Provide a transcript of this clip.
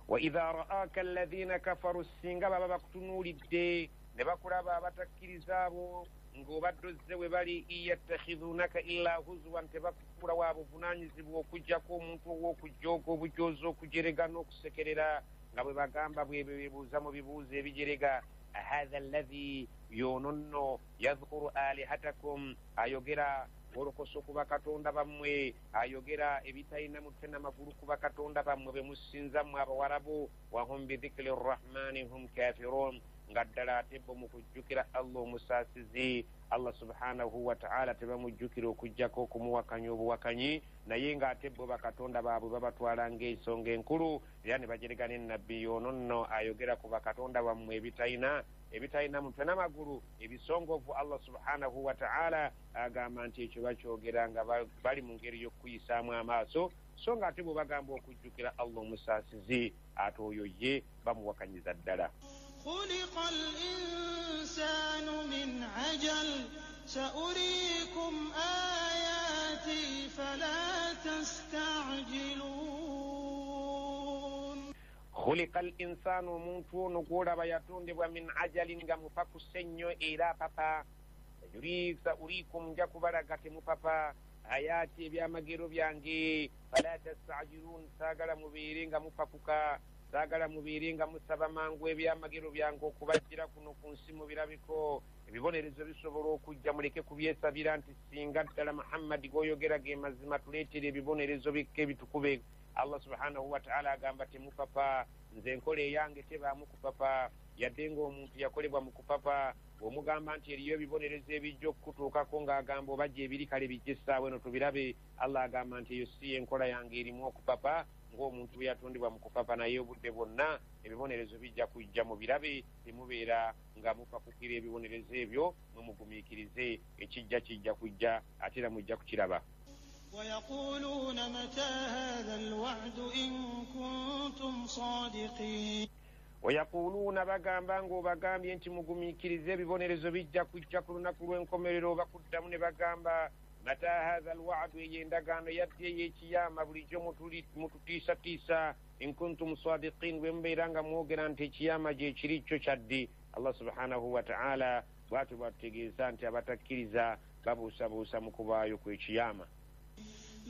Wa idha ra'aka alladhina kafaru, singa baba bakutunuulidde ne bakulaba abatakkiriza abo ng'obadde ozze we bali, iyattakhidhunaka illa huzwan, tebakufuula wa buvunaanyizibwa okuggyako omuntu ow'okujooga obujoozi, okujerega n'okusekerera, nga bwe bagamba bwe beebuuza mu bibuuzo ebijerega. Hatha alladhi, y'ono nno, yadhkuru alihatakum, ayogera wolokoso ku bakatonda bammwe, ayogera ebitalina mutwe n'amagulu ku bakatonda bammwe be musinza mmwe Abawarabu. Wahum bidhikiri rrahmani hum kafirun, nga ddala ate bo mu kujjukira Allah omusaasizi, Allah subhanahu wataala, tebamujjukira okuggyako okumuwakanya obuwakanyi, naye ng'ate bo bakatonda baabwe babatwala ng'ensonga enkulu, era ne bajerega ne Nabbi, y'ono nno ayogera ku bakatonda bammwe ebitalina mutwe n'amagulu ebisongovu. Allah subhanahu wataala agamba nti ekyo bakyogera nga bali mu ngeri y'okukuyisaamu amaaso, so nga ate bwe bagamba okujjukira Allah omusaasizi, ate oyo ye bamuwakanyiza ddala. Khuliqa al-insanu min ajal saurikum ayati fala tastajilun. Khuliqa al-insanu, omuntu ono gw'olaba yatondebwa min ajalin, nga mupakuse nnyo era apapa. Saurikum, nja kubalaga, temupapa, ayati, ebyamagero byange, fala tastajilun, saagala mubeere nga mupakuka, saagala mubeere nga musaba mangu ebyamagero byange okubajjira kuno ku nsi mubirabiko. Ebibonerezo bisobola okujja, muleke kubyesabira nti singa ddala Muhammadi g'oyogera ge mazima, tuleetere ebibonerezo bikka ebitukube. Allah subhanahu wataala agamba temupapa, nze enkola eyange tebaamu kupapa, yadde ng'omuntu yakolebwa mu kupapa. Bw'omugamba nti eriyo ebibonerezo ebijja okukutuukako, ng'agamba oba gyebiri kale bijja essaawa eno tubirabe. Allah agamba nti eyo si enkola yange erimu okupapa, ng'omuntu bwe yatondebwa mu kupapa, naye obudde bwonna ebibonerezo bijja kujja mu birabe, temubeera nga mupakukira ebibonerezo ebyo, mwe mugumiikirize, ekijja kijja kujja ate era mujja kukiraba. Wayaquluuna mata hatha alwa'du in kuntum sadiqin. Wayaquluuna, bagamba ng'obagambye nti mugumiikirize ebibonerezo bijja kujja ku lunaku lw'enkomerero, bakuddamu ne bagamba mata hatha alwa'du, eyo endagaano yaddi ey'ekiyama bulijjo mututiisatiisa, in kuntum sadiqin, bwe mubeera nga mwogera nti ekiyama gye kiri kyo kyaddi. Allah subhanahu wataala bwatyo bwatutegeeza nti abatakkiriza babuusabuusa mu kubaayo kw'ekiyama.